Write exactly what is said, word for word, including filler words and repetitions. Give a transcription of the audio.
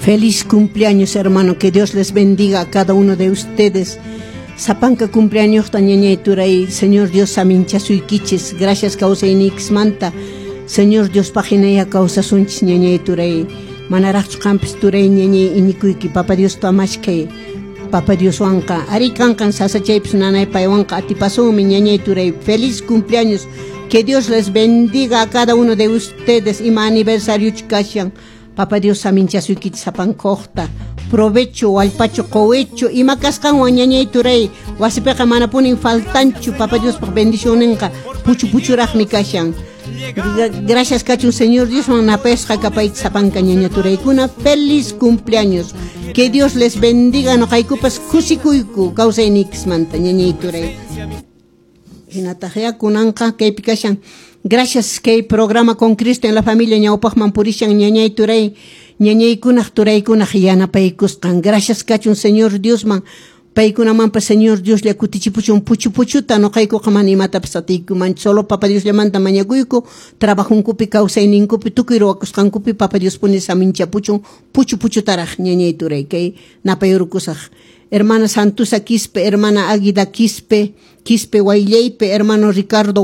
Feliz cumpleaños, hermano, que Dios les bendiga a cada uno de ustedes. Sapanka cumpleaños ñañay turay, Señor Dios saminchasuykichis, gracias kawsayniykismanta. Señor Dios paqhinaya kawsasunchis ñañay turay. Manaraqchu qampis turay ñañay iñikuyki Papa Dios mashkay. Papa Dios wanqa ari kanqan sasachaypis nanay paywanqa atipasunmi ñañay turay. Feliz cumpleaños. Que Dios les bendiga a cada uno de ustedes ima aniversario kashan. Papa Dios saminchasuykichis sapankaqta. Provecho, wallpachu, quwichu, ima kasqanwan ñañay turay. Wasipiqa manapunin faltanchu Papa Diospaq bendicionninqa puchu puchuraqmi kashan. Gracias kachun Señor Dios napayusqa kapaychis sapanka ñaña turaykuna. Feliz cumpleaños. Que Dios les bendiga noqaykupas kusikuyku kawsayniykismanta ñañay turay. Hinataq kunanqa kaypi kashan. Gracias kay programa con Cristo en la familia ñawpaqman purishan ñañay turay ñañaykunaq turaykunaq yanapaykusqan. Gracias kachun Señor Diosman. Paykunamanpas Señor Dios lla kutichipuchun puchu puchuta noqaykuqa mana imatapas atiykuman solo Papa Dios llamanta mañakuyku trabajunkupi kawsayninkupi tukuy ruwakusqankupi Papa Dios puni saminchapuchun puchu puchutaraq ñañay turay kay napayrukusaq. Hermana Santusa Quispe, hermana Águida Quispe, Quispe Guaylleipe, hermano Ricardo